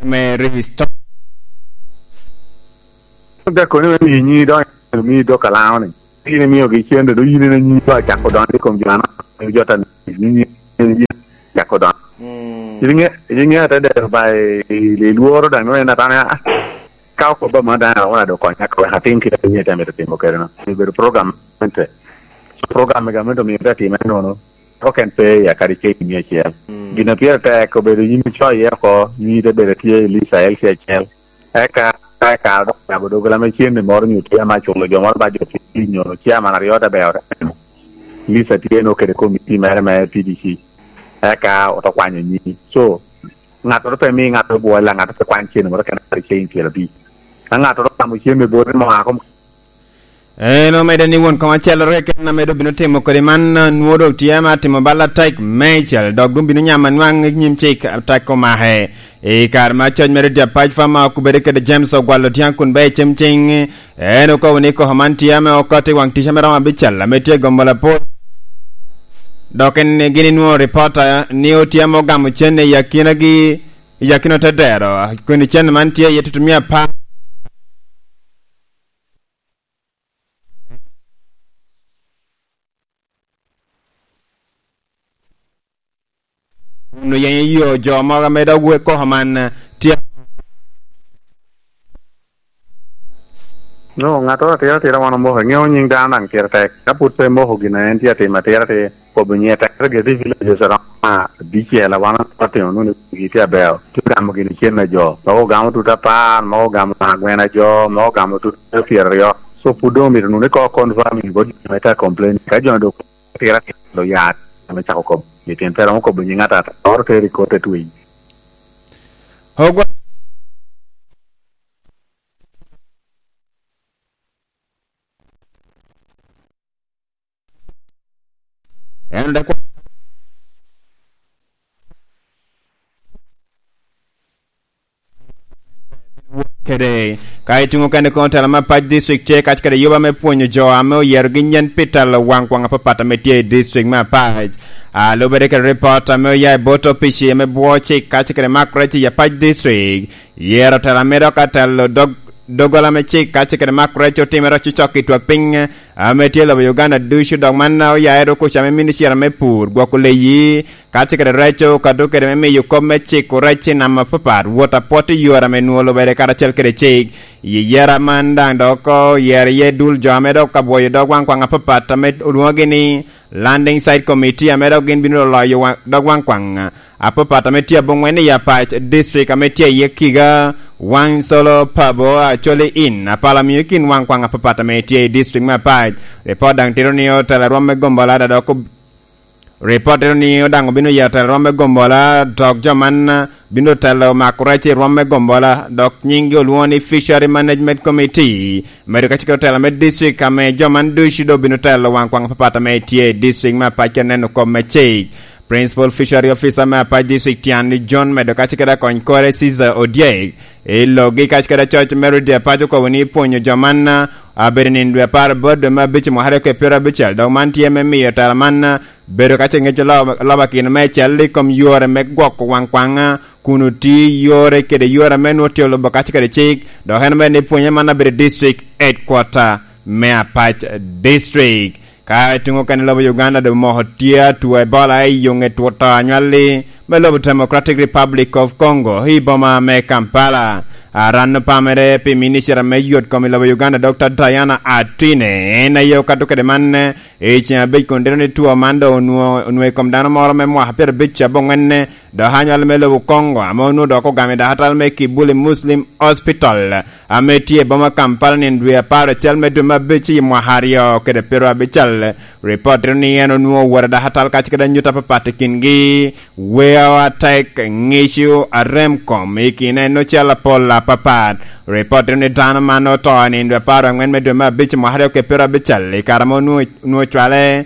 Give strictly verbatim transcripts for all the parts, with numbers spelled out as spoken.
me restore. Gakoni me miyo nyi dong, miyo dok alaŋo ni. In imiogi cente, dong yin ine nyi ba cako donyo i kom jo anaka, jo ta nyi, nyi, nyi cako donyo. Mm. In inge-, in inge ate dero ba i, i, i lworo daŋ, nwoŋo en atamo, ah, ka okobba ma daŋ, wala dok konya, ka wek atim kite, nyi te mito timo kede no. Obedo program mente. So, program mega mente omio te time nono. Oken pe ya kadi ceng mia acel. Mm. Gin a pire tek obedo yin icoyo iye oko, nyi te bedo tye i Lisa L C acel. Eka, eka dok yabo doggola me cen ni moro nyo tye ama culo jo moro ba jo pi nyo chairman aryo te beo te neno. Lisa tye no kede komiti mere me P D C. Eka oto kwanyo nyi. So, ŋattoro pe mi ŋattoro bwola, ŋattoro pe kwany cen moro kene kadi cen pyerabicel. Ka ŋattoro gamo cen me bote mo a kom En omedde ni won kom acelloro keken ame doŋ bino timo kodi man, nwoŋo doŋ tye ame atimo bal atek meicel, dok doŋ bino nyamo anwaŋ i nyim cik atek omake. I kare me acoc mere dye apac, Farmer okubere kede James Ogwal Otiaŋ kun bea i cem cing, en okobo ni koko man tye ame okoto i waŋ tic ame romo abicel ame tye i gomo lapor. Dok en gin inwoŋo ripota ni otye ame ogamo cen i akinagi, i akino te dero, kun cen man tye iye tutumia apar. Kun oyenyo yo jo mogo ame dok wek koko man, eh, tye. No, ŋattoro atira atira wan omoko, iŋeo nyiŋ dano daŋ pire tek. Ka pwod pe moko gin a en tye atimo atira, tye kobo nyiŋe tek. Tek gire tye villages aromo abicel a wan otimo nwoŋo ni wigi tye aber. Tye ogamo gin cen a jo. Mogo ogamo tut apar, mogo ogamo agwen a jo, mogo ogamo tut pyeraryo. So pwod doŋ omito nwoŋo ni koko confirming bot jo ame tye a complain. Ka jo dok atira atira lo yat ame cako kobo. Pi tyen pe romo kobo nyiŋ ata ata. Oro teri i kot te twi. Ogwa-, en dok kede. Ka ituŋo kene kono tela me Apac District tye kacel kede yuba me pwonyo jo ame oyerogi nyen pi telo waŋ kwaŋ apapat ame tye i district me Apac. A, lubere kede ripot ame oya i bot opici ame bwo cik kacel kede mak rec i Apac District, yero tela ame dok atelo dog-, doggola me cik kacel kede mak rec otimere ococok i twak piny ame tye i lobo Uganda ducu, dok man oya i rok ocamo i minicita me pur, gwoko leyi, kacel kede reco, kado kede me miyo kop me ciko rec i nam apapat, wot apwot i yore ame nwoŋo lubere karacel kede cik. I yera man daŋ dok oyero iye dul jo ame dok ka bwoyo dog waŋ kwaŋ apapat ame olwoŋogi ni Landing Site Committee, ame dok gin bino loyo wa-, dog waŋ kwaŋ apapat ame tye aboŋwen i Apac District, ame tye iye Kiga, Waŋ Colo, Pabo, Acholi in, apala miyo i kin waŋ kwaŋ apapat ame tye i district me Apac. Ripot daŋ tito ni otelo rwom me gombola da dok ob-, ripot tito ni daŋ obino yero telo rwom me gombola, dok jo man bino telo mako rec i rwom me gombola, dok nyinggi olwoŋo ni Fishery Management Committee, medo kacel kede otelo me district, ame jo man ducu doŋ obino telo waŋ kwaŋ apapat ame tye i district me Apac kede neno kop me cik. Principal Fishery Officer me Apac District Tiani John, medo kacel kede akony kore Caesar Odyek, i logi kacel kede acoc me Rudi Apac okobo ni pwonyo jo man, a, abedo nino dwe apar bot dwe me abic mwaka aryo kede pyerabicel, dok man tye me miyo tela man, a, bedo kacel ŋeco loba, loba kino me cel i kom yore me gwoko waŋ kwaŋ, a, kun oti yore kede yore ame nwoŋo tye olubo kacel kede cik, dok en omedde ni pwonye man abedo i district headquarter me Apac District. Ka ituŋo kene lobo Uganda doŋ moko tye atwo Ebola i yo ŋet wot to anywalli me lobo Democratic Republic of Congo i boma me Kampala. Aran opamere pi minicita me yot kom i lobo Uganda, Doctor Diana Atwine, en aye okato kede man i ceŋ abic kun tito ni two man doŋ onwo-, onwoŋo i kom dano moro me mwaka pyerabic aboŋwen, dok anywalli me lobo Congo, ame onwoŋo dok ogamo i dakatal me Kibuli Muslim Hospital, ame tye i boma Kampala nino dwe apar acel me dwe me abic i mwaka aryo kede pyerabicel. Ripot tito ni en onwoŋo owot i dakatal kacel kede anyut apapat i kingi, weo atek, ŋico, arem kom, i kine en ocel apol apapat. Ripot tito ni dano man oto i nino dwe apar angwen me dwe me abic i mwaka aryo kede pyerabicel, i kare ame onwoŋo, onwoŋo cwale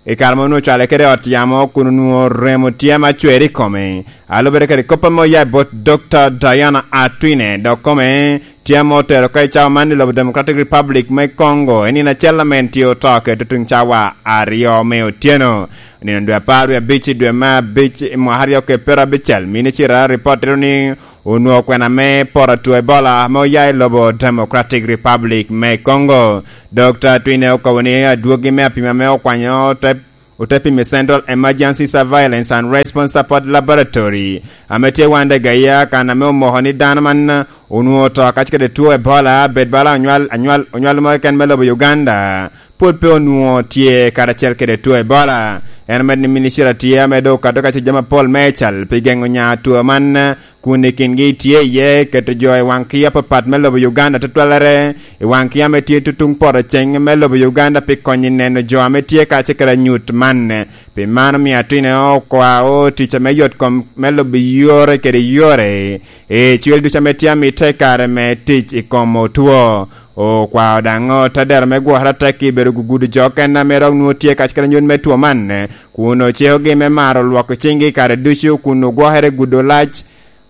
I kare ma onwoŋo cwale kede ot yamo kun onwoŋo remo tye ame acwer i kome, a lubere kede kop ame oya i bot Doctor Diana Atwine, dok kome Tye ame otero ka i cawa man i lobo Democratic Republic me Congo, i nino acel ame en tye oto kede tutuŋ cawa aryo me otyeno. Nino dwe apar wie abic i dwe me abic i mwaka aryo kede pyerabicel, minicita ripot tito ni onwoŋo kwena me poto two Ebola ame oya i lobo Democratic Republic me Congo. Dokta Twine okobo ni adwogi me apima ame okwanyo te ote pimo i Central Emergency Surveillance and Response Support Laboratory, ame tye Wandegaya, kan ame omoko ni dano man onwoŋo oto kacel kede two Ebola, bed bala onywal, anywal, onywal mo keken me lobo Uganda, pwod pe onwoŋo tye karacel kede two Ebola. En omedo ni minicita tye ame doŋ okato ka tye jami apol me cal pi geŋo nya two man, kun i kingi tye iye keto jo i waŋ kia apapat me lobo Uganda, tutwalere i waŋ kia ame tye tutuŋ poto ceng me lobo Uganda, pi konyo i neno jo ame tye kacel kede anyut man. Pi man omio Atwine okwao tic ame yot kom me lobo yore kede yore i cwel ducu ame tye amite i kare me tic i kom otwo. Okwao daŋ otadero me gwokere atek i bedo gugudo jo okene ame dok nwoŋo tye kacel kede anyut me two man, kun ocikogi me maro lwoko ciŋgi i kare ducu, kun ogwokere i gudo lac,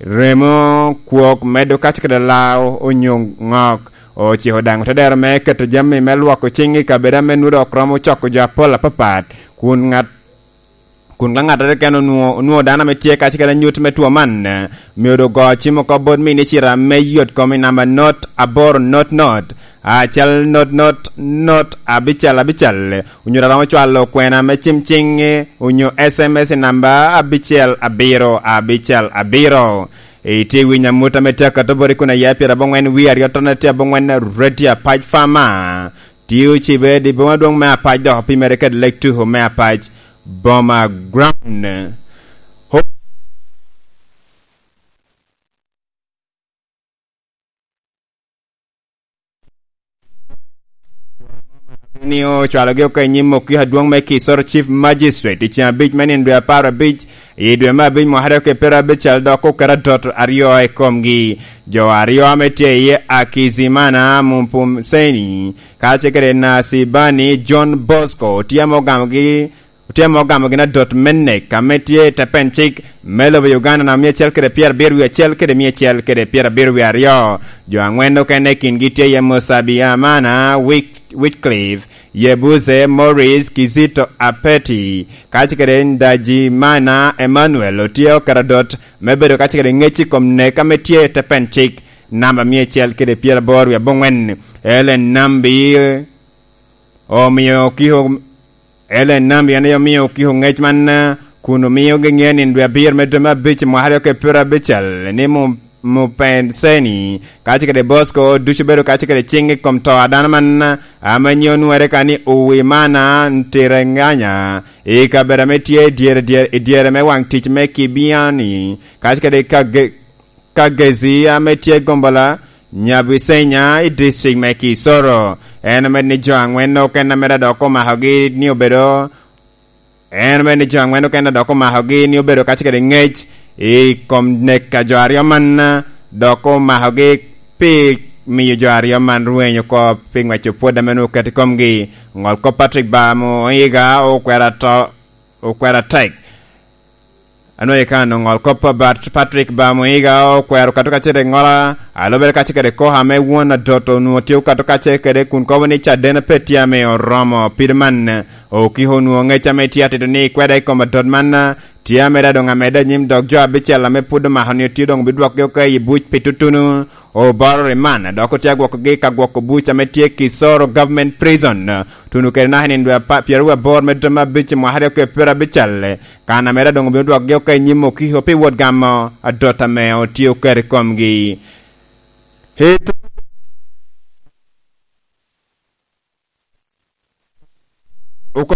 remo, kwok, medo kacel kede lao onyo ŋok. Ociko daŋ otedero me keto jami me lwoko ciŋ i kabedo ame nwoŋo dok romo coko jo apol apapat, kun ŋat, kun ka ŋattoro keken onwoŋo, onwoŋo dano ame tye kacel kede anyut me two man, myero doŋ go cim oko bot minicita me yot kom i namba not aboro not not, acel not not not abicel abicel, onyo daŋ romo cwalo kwena me cim ciŋ, onyo S M S i namba abicel abiro abicel abiro. Itye winyo amut ame tye akato boti kun aye pyerabongwen wie aryo tone tye abongwen Radio Apac Farmer. Tye ocibe i boma adwoŋ me Apac, dok opimere kede Lake Tuho me Apac, Boma Ground. Ni ocwalogi oko i nyim okiko adwoŋ me Kisoro Chief Magistrate i ceŋ abic me nino dwe apar abic i dwe me abic mwaka aryo kede pyerabicel, dok oketo adot aryo i komgi. Jo aryo ame tye iye, Akizimana Mumpumseni kacel kede Nasibani John Bosco, tye ame ogamogi Otye ame ogamo gin adot me nek ame tye i te pen cik me lobo Uganda namba mia acel kede pyerabiro wie acel kede mia acel kede pyerabiro wie aryo. Jo angwen okene i kingi tye iye Musabi Amana Wick-, Wycliffe, Yebuze Morris, Kizito Apeti, kacel kede Ndajimana Emmanuel otye oketo adot me bedo kacel kede ŋec i kom nek ame tye i te pen cik namba mia acel kede pyeraboro wie abongwen. Ellen Nambi omio kiko Ellen Nambi en aye omio okiko ŋec man, kun omio gi ŋeo ni dwe abiro me dwe me abic mwaka aryo kede pyerabicel ni Mu-, Mupenseni kacel kede Bosco ducu bedo kacel kede ciŋ i kom to a dano man, ame nyiŋe onwoŋere ka ni Uwimana Ntirenganya, i kabedo ame tye i dyere, dyere, i dyere me waŋ tic me Kibiani, kacel kede Kage-, Kagezi ame tye Gombola, Nyabisenya i district me Kisoro. En omedo ni jo angwen okene ame dok omakogi ni obedo, en omedo ni jo angwen okene dok omakogi ni obedo kacel kede ŋec i kom nek a jo aryo man, dok omakogi pi miyo jo aryo man rweny oko pi ŋweco pwod ame nwoŋo oketo i komgi. Ŋol kop Patrick Bamuiga okwero ato-, okwero atek. Anwoŋo i kan oŋol kop Pat-, Patrick Bamuiga okwero kato kacel i ŋola, a lubere kacel kede koko ame won adot onwoŋo tye okato kacel kede kun kobo ni caden pe tye ame oromo. Pire man, okiko onwoŋo ŋec ame tye atito ni kweda i kom adot man, tye ameda doŋ ameda i nyim dok jo abicel ame pwod omako ni otye doŋ obidwokgi oko i buc pi tutunu. Oboro Riman dok otye agwokogi ka gwoko buc ame tye Kisoro Government Prison, tuno kede naka i nino dwe apa-, pyeraryo aboro me dwe me abic i mwaka aryo kede pyerabicel, kan ameda doŋ obino dwokgi oko i nyim okiko pi wot gamo adot ame otye oketo i komgi. Hit- Oko-,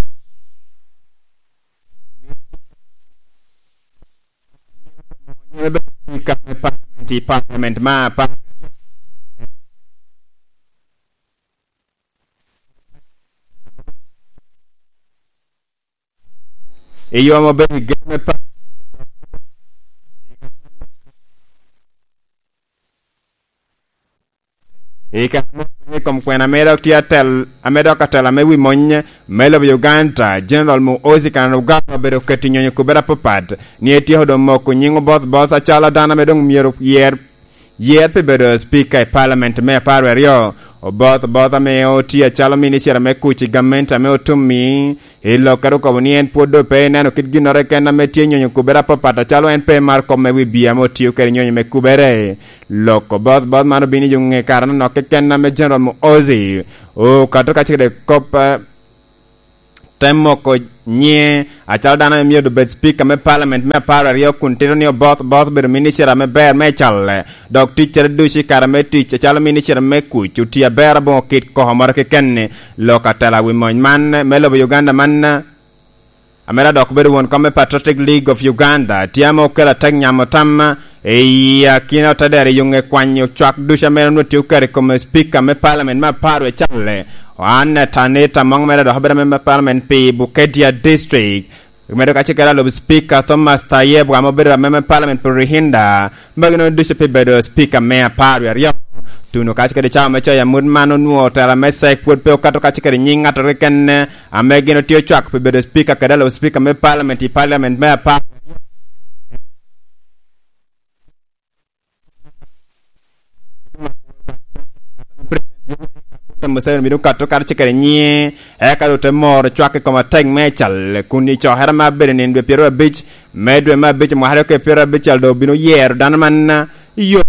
Speaker me Parliament i Parliament ma apar. I yo ame obedo i gen me Parliament, i kare me pwony i kom kwena ame dok tye atel-, ame dok atela me wi mony me lobo Uganda, General Muhoozi Kainerugaba obedo keto nyonyo kobere apapat ni etyeko doŋ moko nyiŋ oboth both acalo dano ame doŋ myero yer, Yer pi bedo Speaker i Parliament me apar wie aryo, oboth oboth ame otye acalo minicita me kuc i gamente ame otum-mi, i lok kede okobo ni en pwod doŋ pe eneno kit ginnoro keken ame tye nyonyo kubere apapat acalo en pe maro kop me wi bia ame otio kede nyonyo me kubere. Lok oboth oboth man obino i ŋe kare anok keken ame General Muhoozi okato kacel kede kop, eh, te moko nyiŋe acalo dano ame myero obed Speaker me Parliament me apar aryo kun tito ni oboth oboth obedo minicita ame ber me calle, dok ticcere ducu i kare me tic acalo minicita me kuc otye aber aboŋo kit koko moro keken-ni. Lok atela wi mony man me lobo Uganda man, ame dok bedo won kom me Patriotic League of Uganda, tye ame okelo atek nyamo tam i akina otedero i yoŋe kwanyo cwak ducu ame onwoŋo tye okato i kome Speaker me Parliament me apar wie calle. Anne Tanita Mong mere dok obedo ameme Parliament pi Bukedea District. Medo kacel kede alub Speaker Thomas Tayeb, ame obedo ameme Parliament pi Ruhinda. Magi nono ducu pi bedo Speaker me apar wie aryo. Tuno kacel kede cawa me coyo amut man onwoŋo otela me cek pwod pe okato kacel kede nyiŋ ŋattoro keken ame gin otye ocwako pi bedo Speaker kede alub Speaker me Parliament i Parliament me apar. President Yoweri Kaguta Museveni bino kato karacel kede nyiŋe, eka doŋ te moro cwak i kom atek me cal, kun i cokere me abedo nino dwe pyeraryo abic me dwe me abic mwaka aryo kede pyeraryo abic cal doŋ obino yero dano man yo.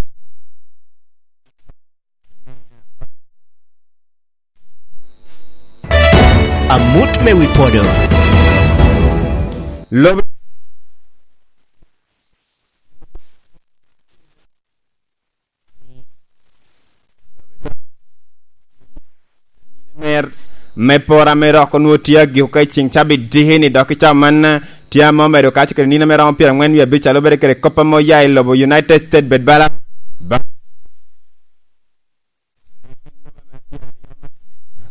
Amut me wi podo. Lobo mer me pora me rok onwoŋo tye agiko ka i ceŋ cabit diki-ni, dok i cawa man tye ame omedo kaco kede nino me romo pyeraŋwen wie abic a lubere kede kop ame oya i lobo United States bed bala. Ba-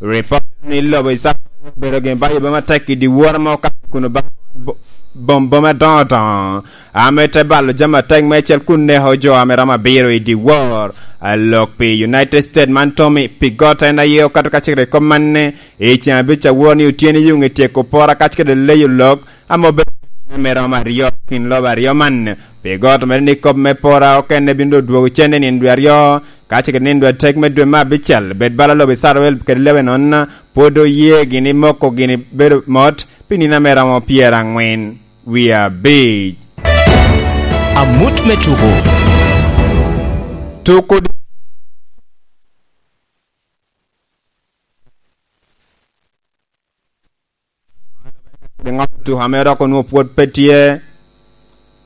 Ripot ni lobo Israel obedo gin bayo boma tek i dyewor ame okato kun oba-, bo-, bom boma adoŋo doŋo, ame te balo jami atek meicel kun neko jo ame romo abiro i dyewor. Alok pi United States man Tommy Pigott en aye okato ka cikere i kop man ni i ceŋ abic awor ni otyeno i yuŋ i tyeko pora kac kede leyo lok ame obedo ame romo aryo kin lobo aryo man. Pigott omedo ni kop me pora okene bino doŋ dwogo cen i nino dwe aryo, ka ce kede nino dwe atek me dwe me abicel, bed bala lobo Icrael kede Lebanon pwod oye gini moko gini bedo mot pi nino ame romo pyeraŋwen wie abic. Amut me tuko. Tuko di- Ŋo tuko ame dok onwoŋo pwod pe tye,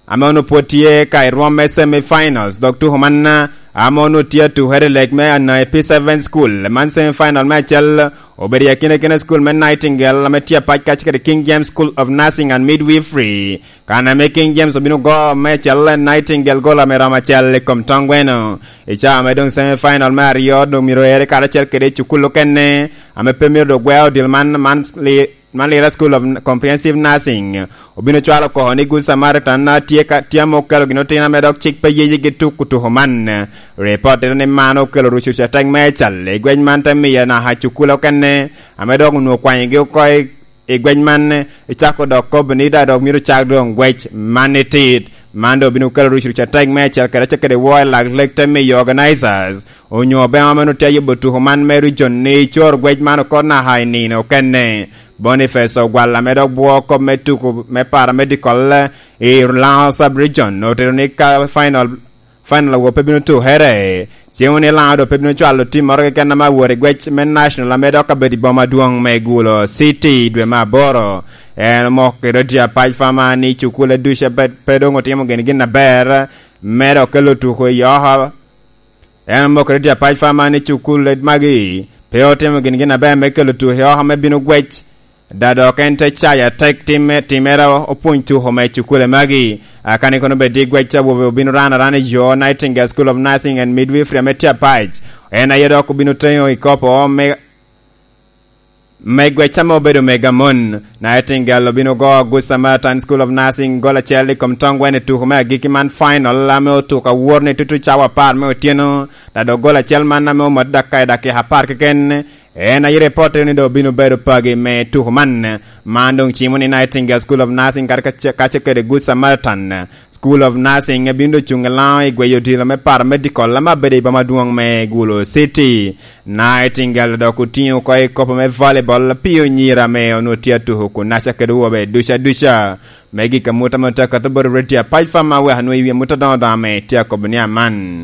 ame onwoŋo pwod tye ka i rwom me semi-finals, dok tuko man, ame onwoŋo tye atukere i leg me Anai P seven School. Man semi-final me acel obedo i akina kina school me Nightingale ame tye apac kacel kede King James School of Nursing and Midwifery. Kan ame King James obino go me acel, Nightingale gol ame romo acel i kom toŋ gweno. I cawa ame doŋ semi-final me aryo doŋ myero ere karacel kede i cukul okene, ame pe myero doŋ gwe odil man, man li-, man Lira School of Comprehensive Nursing. Obino cwalo koko ni Good Samaritan a tye ka, tye ame okelo gin otino ame dok cik pe yeyigi tuko tuko man. Ripot tito ni man okelo rucuc atek me cal i gwec man te miyo naka cukul okene, ame dok onwoŋo kwanyogi oko i i gwec man, icako dok kobo ni daŋ dok myero cak doŋ gwec man itit. Man doŋ obino kelo rucuruc atek me acel kede acel kede woo i lak leg te miyo organizers onyo bema meno tye ayubo tuko man me region ni icor gwec man oko naka i nino okene. Boniface Ogwal ame dok bwo kop me tuko me para medical i Lango Sub Region otito ni ka final Final awobe pe bino tukere. Cen wun ni Lango doŋ pe bino cwalo tim moro keken ame awot i gwec me National ame dok abedo i boma adwoŋ me Gulu City i dwe me aboro. En omoko kede oti apac fama ni cukule ducu pe, pe doŋ otimo gin gin aber me dok kelo tuko i oha. En omoko kede oti apac fama ni cukule magi pe otimo gin gin aber me kelo tuko i oha me bino gwec. Da dok en te cayo atek timme, timere opwony tuko me cukule magi. Akani kono bed i gwec awobe obino rano arana i yo Nightingale School of Nursing and Midwifery ame tye apac. En aye dok obino teŋo i kopo me, me gwec ame obedo mega mon. Nightingale obino go Good Samaritan School of Nursing gol acel i kom toŋ gweno i tuko me agikki man final ame otuko awor ni tutu cawa apar me otyeno. Da dok gol acel man ame omot dakika i dakika apar keken. En aye ripot ni doŋ obino bedo pagi me tuko man. Man doŋ cimo ni Nightingale School of Nursing kadi kace-, kace kede Good Samaritan School of Nursing ebino doŋ cuŋ i Lango i gweyo odilo me Paramedical ame abedo i boma adwoŋ me Gulu City. Nightingale dok otiŋo oko i kopo me volleyball pi onyira ame onwoŋo tye atuko kun naca kede wobe duca duca. Me gik amut ame otye akato bot Radio Apac Fam, aweko anwoŋo i wi amut adoŋo doŋo ame tye akobo ni aman.